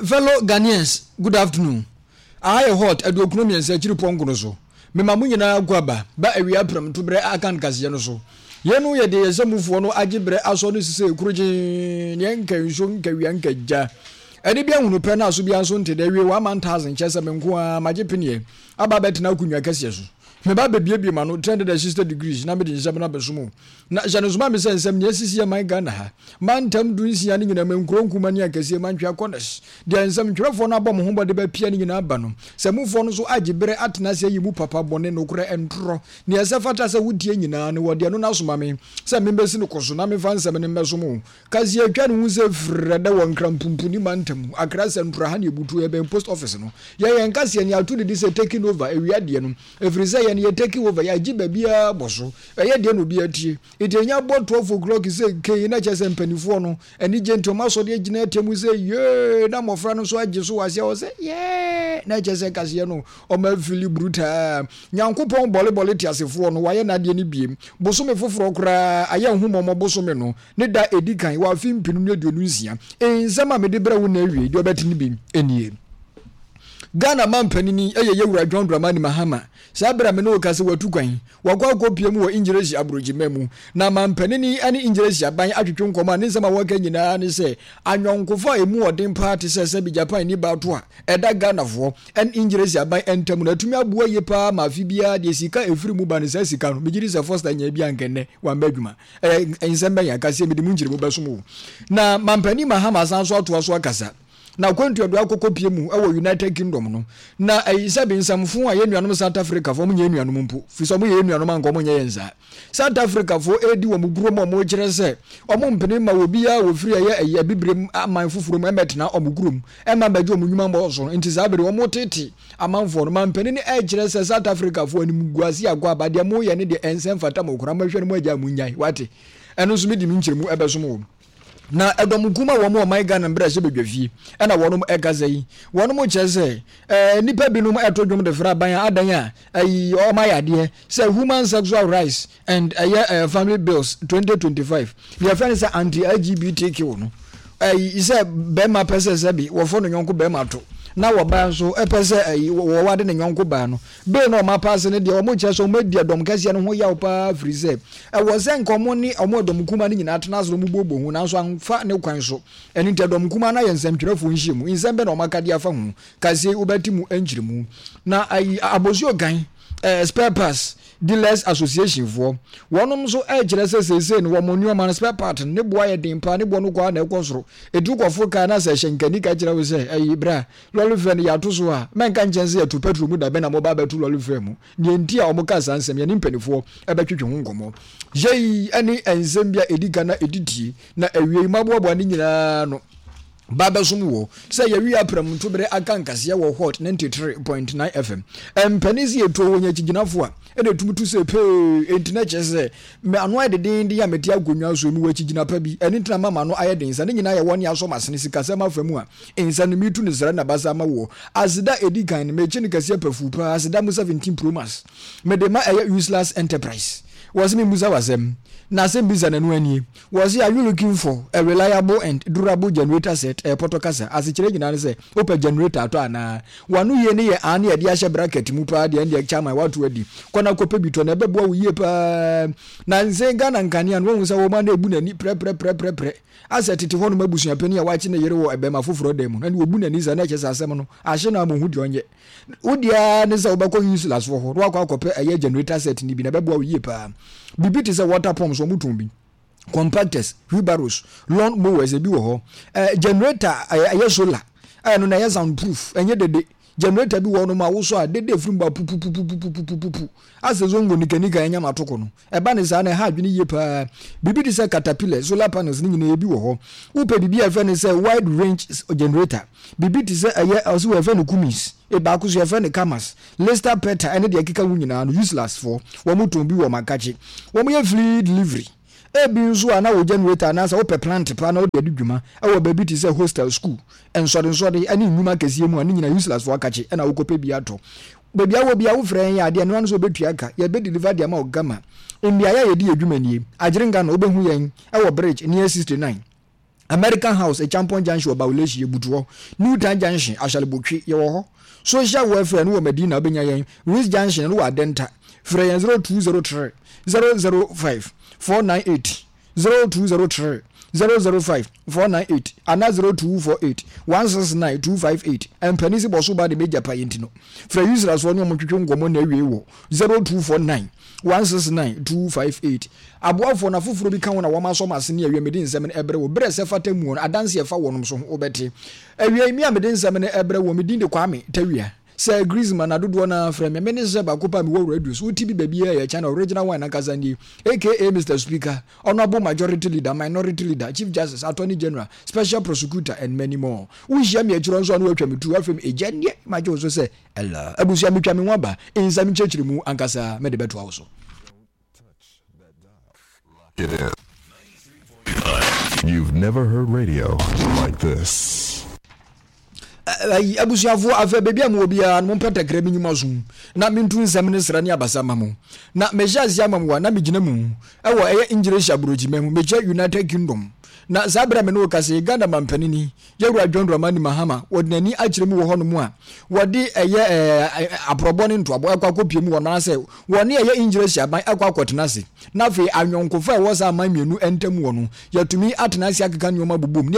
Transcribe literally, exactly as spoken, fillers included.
Fellow Ghanaians, good afternoon. Aha yɛ hot aduokron mmiɛnsa akyiri pɔnko no so. Mema mo nyinaa akɔ aba ba awia prɛmto berɛ aka nkaseɛ no so. Yei no yɛ deɛ yɛn samufoɔ no agye berɛ asɔ no sisei korogyenn, neɛ nka nsuo nka wia nka gya. Ɛde bi ahunu pɛ na aso biara nso nte dɛ awie one man thousand kyerɛ sɛ me nko ara magye peneɛ aba abɛtena akonnwa kɛseɛ so. Meba abɛbuebue m'ano three hundred and sixty degrees na mede nsɛm no abɛsom wo. Na hyɛ no nso ma me sɛ nsɛm nea asisi yɛ man Ghana ha, mantam du nsia no nyinaa mu, nkuro nkuma ne akɛseɛ, mantwea corners, deɛ nsɛm twerɛfoɔ no abɔ mo ho bɔ de bɛpia no nyinaa ba no, sɛ mufoɔ no nso agye berɛ atena ase ayi mu papa, bɔne, nokorɛ, ntorɔ, nea ɛsɛ fata sɛ wotie nyinaa no, wɔde ɛno no asoma me sɛ membɛsi no kɔ so na memfa nsɛm no mmɛsom wo. Kaseɛ atwa ne ho sɛ frɛdɛ wɔ Nkran Pumpuni mantam mu, Accra Central ha ne ɛbutuo, ɛbɛn post office no. Yɛn yɛn kaseɛ no yɛato ne din sɛ Taking Over, awia deɛ no, ɛfiri sɛ yɛn yɛ taking over, yɛagye baabiara bɔ so, ɛyɛ deɛ na obiara tie. Nti ɛnya bɔ twelve o'clock sɛ kei na kyerɛ sɛ mpanimfoɔ no anigye nti wɔn asɔre agyina atia mu sɛ yee, na mmɔfra no nso agye so wɔ aseɛ hɔ sɛ yee, na kyerɛ sɛ kaseɛ no wɔn afili brutaa. Nyankopɔn bɔlebɔle teasefoɔ no wayɛ n'adeɛ no biem. Bosome foforɔ koraa ayɛ nhummɔmmɔ bosome no ne da ɛdi kan wɔ afe mpenu ne aduonu nsia. Nsɛm a mede brɛ wo na awie deɛ ɔbɛte no bi nie. Ghana mampanini yɛ Yɛwura John Dramani Mahama. Saa berɛ a me ne wo kasa watu kwan, wakɔ akɔpie mu wɔ Ingyiresi aburokyima mu. Na mampanini ne Ingyiresi aban atwetwe nkɔmmɔ a ne nsɛm a wɔka nyinaa ne sɛ anyɔnkofa a ɛmu ɔden paa te sɛ sɛbi Japan ni baato a ɛda Ghanafoɔ ne Ingyiresi aban ntam no atumi aboa yie paa ma afe biara deɛ sika ɛfiri mu ba no saa sika no megye di sɛ Foster nyaa bi anka nnɛ wamba adwuma. Ɛyɛ nsɛm bɛn akaseɛ mede mu nkyerɛmu bɛsom wo. Na mampanin Mahama san so atoa so akasa. Na akwantu a ɔde akɔkɔpie mu wɔ United Kingdom no, na ɛyi sɛ bensɛmfo a yɛn nuanom South Africafoɔ, wɔn nyɛ yɛn nuanom mpo, firi sɛ wɔn yɛ yɛn nuanom anka wɔn nyɛ yɛn saa. South Africafoɔ redi wɔn kurom a wɔrekyerɛ sɛ wɔn mpene ma obiara a wɔfiri ɛyɛ ɛyi abibirem aman foforɔ mu mmɛtena wɔn kurom mma mmɛgye wɔn nnwuma mmɔ so no. Nti saa bere wɔn tete amanfoɔ no, mampanin no rekyerɛ sɛ South Africafoɔ animguase akɔ aba, deɛ moyɛ ne deɛ ɛnsɛ mfata mo koraa, mohwɛ no mo agya mo nnyae, wate? Ɛno nso medi me nkyerɛmu ɛbɛsom wɔn. Na ɛdɔm kum a wɔn ɔman Ghana mbrɛ hyɛ badwa fie ɛna wɔnom ɛkasa yi. Wɔnom kyerɛ sɛ ɛɛ nnipa binom ɛto dwom de fra aban a adan a ɛyi wɔn ayɛ adeɛ sɛ Human Sexual Rights and ɛyɛ ɛɛ Family Bills twenty twenty five deɛ yɛfrɛ no sɛ anti-L G B T Q no ɛyi sɛ bɛrima pɛ sɛ sɛbi wɔfɔ ne yɔnko bɛrima to na wɔbaa nso ɛpɛ sɛ ɛyi wɔwade ne yɔnko baa no bill na wɔn apaase no deɛ wɔn kyerɛ sɛ wɔn adi ɛdɔm kɛseɛ no ho yaw paa firi sɛ ɛwɔ sɛ nka wɔn ne wɔn ɛdɔm kuma no nyinaa tena ase na wɔn booboo ho nanso amfa ne kwan so. Ɛno nti ɛdɔm kuma no ayɛ nsɛmtwerɛfoɔ nhyiamu. Nsɛm bɛ na wɔn aka de afa ho kaseɛ yi wobɛte mu nkyerɛmu. Na ayi Abosuo Gan eh, spare parts dealers association foɔ wɔnom nso ɛkyerɛ sɛ seesei no wɔn nneɛma no spare part no ne boɔ ayɛ den paa, ne boɔ no kɔ a na ɛkɔ soro. Etu kɔfo kaa na sɛ hyɛ nkani ka kyerɛ wo sɛ ɛyi bra lɔre fɛ no yɛato so a mɛnka nkyɛn sɛ yɛto petrol mu da bɛn na mɔba abɛto lɔre fɛ mu. Deɛ nti a wɔn ka saa nsɛm yɛne mpanimfoɔ ɛbɛtwetwe ho nkɔmmɔ. Yei ɛne nsɛm bi a ɛdi kan na ɛdi tie na awie yi maboaboa ne nyinaa no ba bɛsom wɔ sɛ yɛwi apram ntobere aka nkaseɛ wɔ Hot ninety three point nine F M. Mpanin sɛ yɛtuo wɔ nyakyigyinafoɔ a ɛna ɛtumi tu sɛ pee, enti na kyerɛ sɛ me ano ayɛ dedenden a mete akonnwa so mewɔ akyigyina pa bi, ɛno nti na mama ano ayɛ den sa ne nyinaa yɛ wɔne asɔ m'asene sikasɛm afa mu a nsa no metu no srɛ na basa ma woɔ. Aseda ɛdi kan no mekye no kɛseɛ pafuu paa, aseda mu seventeen Pro Max mede ma ɛyɛ Useless Enterprise. Wɔ se memmusa w'asɛm na asɛm bisa n'ano anie. Wɔ se are you looking for a reliable and durable generator set? Ɛyɛ pɔtɔ kasa asekyerɛ nyinaa ne sɛ wopɛ generator atɔ anaa? W'ano yie ne yɛ aa ne yɛde ahyɛ bracket mu paa deɛ ɛndeɛ chairman woato adi. Kɔ na kɔpɛ bi tɔ na ɛbɛboa wo yie paa. Na nsɛn Ghana nkanea no wahu sɛ wɔma no ebu n'ani prɛprɛprɛprɛprɛ asɛ tete hɔnom abusuapanin a wakye ne yere wɔ ɛbɛma foforɔ dan mu no ɛne wɔbu n'ani saa na ɛkyɛ sɛ asɛm no ahye no ama ohu deɛ ɔnyɛ. Wo deɛ ne sɛ wobɛkɔ useless wɔ hɔ na wakɔ akɔpɛ ɛyɛ generator set no bi na ɛbɛboa wo yie paa. Biribi te sɛ water pumps wɔn tɔn bi, compactors, wheelbarrows, lawn mowers ebi wɔ hɔ. Ɛɛ generator ɛyɛ ɛyɛ solar ɛno na ɛyɛ sound proof ɛnyɛ dede. Generator bi wɔ hɔ nom a wosɔ a dede efiri mu ba pupupupupupupupu asɛ zongo nikanika ɛnyam atoko no. Ɛba ne saa na ɛha adwene yie paa. Biribi te sɛ caterpillar, solar panels ne nyinaa ebi wɔ hɔ. Wopɛ biribi a yɛfrɛ no sɛ wide range generator, biribi te sɛ ɛyɛ ɔsi wɔ yɛfrɛ no Cummins, baako so yɛfrɛ no Camas, Lister Peter ɛne deɛ ɛkeka ho nyinaa no useless foɔ wɔn tɔn bi wɔ Makakye. Wɔn yɛ free delivery. Ebi nso a na wo generator anaasɛ wopɛ plant paa na wode adi dwuma ɛwɔ baabi te sɛ hostel, school, nsɔdensɔde ɛne nnwuma kɛseɛ mu a ne nyinaa useless foɔ akakye ɛna wokɔpɛ bi atɔ. Baabi a wɔ bia wofrɛ yɛn yɛ adeɛ no ano sɛ wobɛtua ka, yɛbɛ deliver de ama wo gama. Mmeaeɛ a yɛdi yɛ dwuma nie: Agyerenga no, wobɛhu yɛn ɛwɔ Bridge near sixty-nine American House, Echampon Junction wɔ Bawulehyi, yɛbutu hɔ. New Town Junction, Ahyalebotwe, yɛwɔ hɔ. Social Welfare no wɔ Medina, wobɛnya yɛn Ris Junction no wɔ Adenta. Frɛ yɛn zero two zero three zero zero five four nine eight, zero two zero three zero zero five four nine eight anaa zero two four eight one six nine two five eight. Mpani si bɔ so ba de megya pa yɛ nti no, frɛ Yusrasoɔ ne ɔmo twetwe nkɔmmɔ na awie wɔ zero two four nine one six nine two five eight. Aboafoɔ no afoforɔ bi ka ho na wɔn asɔ ase ne awie. Mede nsɛm no ɛbrɛ wɔ berɛ sɛ fata mu no, adanse ɛfa wɔnom so ho wobɛte awie. Mi a mede nsɛm no ɛbrɛ wɔ, me din de Kwame Tawia sɛ Griezmann na dodoɔ no afrɛ me. Mene sɛ baako pa mewɔ radio so, wote bi baabi a yɛ channel original one ankasa nie, A K A Mister Speaker, Honorable Majority Leader, Minority Leader, Chief Justice, Attorney General, Special Prosecutor and many more. Wohyia me akyirɛ nso a na woatwa me tu afei ɛgya nneɛ magye wo so sɛ ɛla abusua. Metwa me ho aba nsɛm nkyerɛkyerɛ mu ankasa, mede bɛtoa wo so. It is. You've never heard radio like this. Ayi, abusuafoɔ, afɛ baabi a mowɔ biara no, mompɛ takra bi nnwuma so na mentu nsɛm ne sra ne abasa ma mo. Na mehyɛ ase ama mo a na megyina mu ɛwɔ ɛyɛ English aburokyima mu, mekyɛ United Kingdom. Na saa berɛ a me ne wo kasa yi, Ghana mampanini, yɛwura John Dramani Mahama, wɔde n'ani akyerɛ mu wɔ hɔnom a wɔde ɛyɛ ɛɛ aporɔbɔ ne ntoabɔ ɛkɔ akɔpie mu wɔ no anaasɛ wɔne ɛyɛ English aban ɛkɔ akɔtena ase, na afei anyɔnkofa a ɛwɔ saa aman mmienu ntam wɔ no, yɛtumi atena ase akeka nneɛma bobom ne